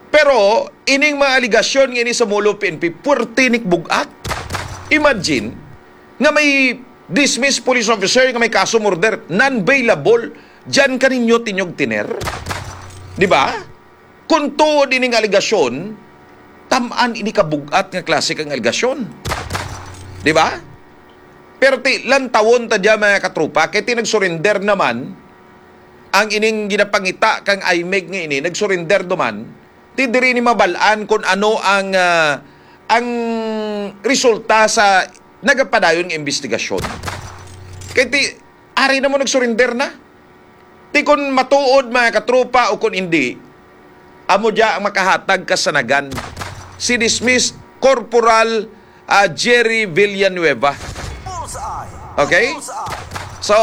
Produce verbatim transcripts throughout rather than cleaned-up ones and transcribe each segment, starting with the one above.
Pero ining mga aligasyon nga ini sa Molo P N P, puwerte ni bug-at. Imagine nga may dismissed police officer nga may kaso murder, non-bailable, diyan ka ninyo tinyog tiner. Di ba? Kung tuod ining aligasyon, tamaan ini kabug-at nga klase kang aligasyon. Di ba? Pero ti, lantawon ta diya, mga katropa, kay ti nagsurrender naman ang ining ginapangita kang I M E G nga ini, nagsurrender duman, ti diri ni mabal-an kung ano ang, ah, ang resulta sa nagapadayon nga investigasyon. Kay ti, ari na mo nagsurrender na. Ti kun matuod, mga katropa, o kun indi, amo diya ang makahatag kasanagan. Si dismissed Corporal, ah, Jerry Villanueva. Okay? So,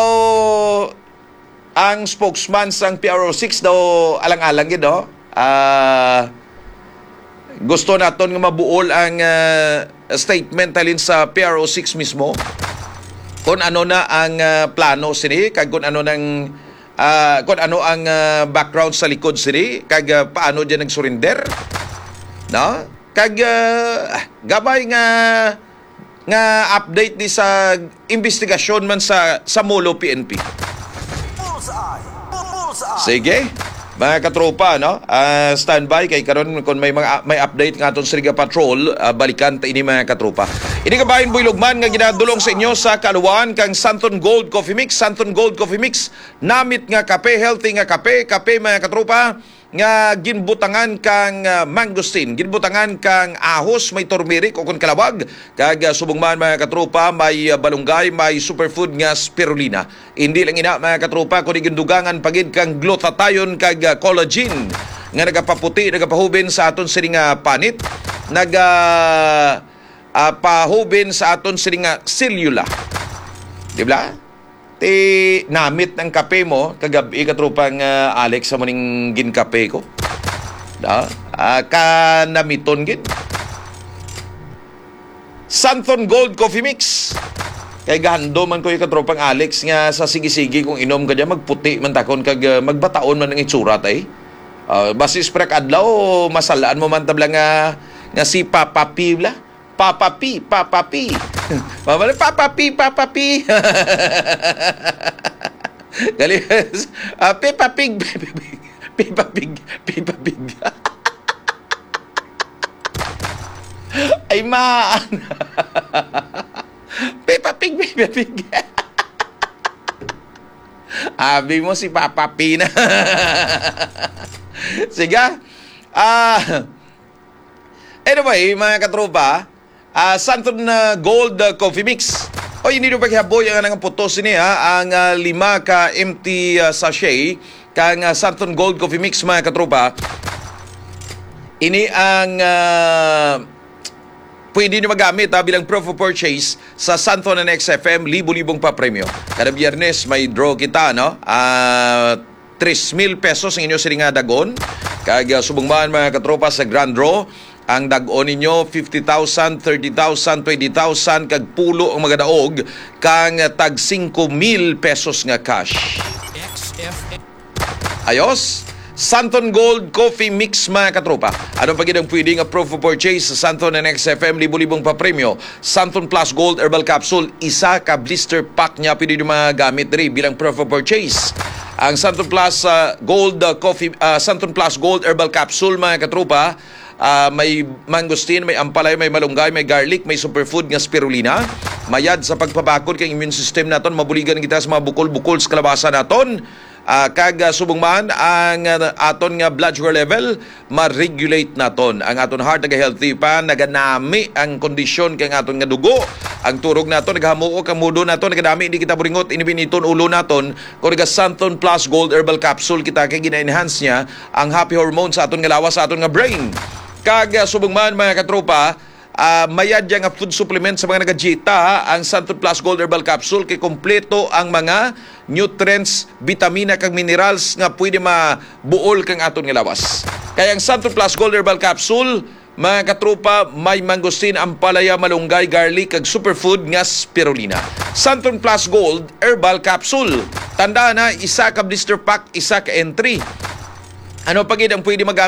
ang spokesman sang P R O six daw alang-alang gid, no? Ah, gusto naton nga mabuol ang, ah, statement halin sa P R O six mismo. Kung ano na ang, ah, plano sini, kag kung ano nang, ah, kung ano ang, ah, background sa likod sini, kag, ah, paano diyan nag-surrender, no? Kag, ah, gamay nga, nga update ni sa investigasyon man sa, sa Molo P N P. Bullseye! Bullseye! Sige. Mga katropa, no? Ah, standby kay karon kung may mga, may update nga aton sa Riga Patrol, ah, balikan ta ini, mga katropa. Ini kabahin Buylog man nga ginadulong sa inyo sa kaluwaan kang Santon Gold Coffee Mix. Santon Gold Coffee Mix, namit nga kape, healthy nga kape, kape, mga katropa, nga ginbutangan kang, ah, mangosteen, ginbutangan kang ahos, may turmeric o kon kalawag, kag, ah, subong man, mga katropa, may, ah, balunggay, may superfood nga spirulina. Hindi lang ina, mga katropa, kundi gindugangan pa gid kang glutathione kag, ah, collagen nga nagapaputi, nagapahubin sa aton sini nga panit, naga, ah, pahubin sa aton sini nga selula. Di ba? Ti namit ang kape mo kagab-i, katropang, ah, Alex, sa muning ginkape ko. Da? Ah, kanamiton gid. Santon Gold Coffee Mix. Kay gahando man ko yung katropang Alex nga sa sige-sige kung inom ka dyan, magputi man takon kag, ah, magbataon man ang itsura, tay. Ah, basi spray adlaw, masalaan mo man tabla nga, nga si Papa P bla. Papa P, Papa P. Mabalik, Papa P, Papa P. Galing. Ah, Peppa Pig, Peppa Pig, Peppa Pig, Peppa Pig. Ay, maan. Peppa Pig, Peppa Pig. Abi mo si Papa P na. Sige. Ah, anyway, mga katropa, ah, Santon, ah, Gold, ah, Coffee Mix. O, hindi nyo paghihaboy ang anang putos ini, ha? Ang, ah, lima ka empty, ah, sachet kang, ah, Santon Gold Coffee Mix, mga katropa. Ini ang, ah, pwede nyo magamit, ha, bilang proof of purchase sa Santon and X F M, libo-libong papremyo. Kada Biyernes, may draw kita, no? Ah, tres mil pesos ang inyo sini nga dagon. Kag, ah, subong man, mga katropa, sa grand draw, ang dagon ninyo, fifty thousand, thirty thousand, twenty thousand, kag pulo ang magadaog kang tag singko mil pesos nga cash. Ayos? Santon Gold Coffee Mix, mga katropa. Ano pa gid ang pwede nga proof of purchase sa Santon and X F M, libo-libong papremyo? Santon Plus Gold Herbal Capsule, isa ka blister pack niya pwede nyo magamit diri bilang proof of purchase. Ang Santon Plus, ah, Gold, ah, Coffee, ah, Santon Plus Gold Herbal Capsule, mga katropa, ah, may mangosteen, may ampalaya, may malunggay, may garlic, may superfood nga spirulina. Mayad sa pagpabakod kay immune system naton, mabuligan kita sa mga bukol-bukol sa kalabasa naton. Ah, kag, ah, subong man ang, ah, aton nga blood sugar level, ma-regulate naton. Ang aton heart naga-healthy pa, naganami ang kondisyon kay ang aton nga dugo. Ang turog naton nagahamuok, ang mudo naton naganami, hindi kita buringot, inibiniton ulo naton. Kung naga Santon Plus Gold Herbal Capsule kita, kay gina-enhance niya ang happy hormone sa aton nga lawas, sa aton nga brain. Kag, ah, subong man, mga katropa, ah, mayad ya nga food supplement sa mga nagadieta, ha. Ang Santon Plus Gold Herbal Capsule kay kompleto ang mga nutrients, bitamina kag minerals nga pwede mabuol kang aton nga lawas. Kay ang Santon Plus Gold Herbal Capsule, mga katropa, may mangosteen, ampalaya, malunggay, garlic, kag superfood nga spirulina. Santon Plus Gold Herbal Capsule. Tandaan, ha, isa ka blister pack, isa ka entry. Ano pa gid ang pwede magamit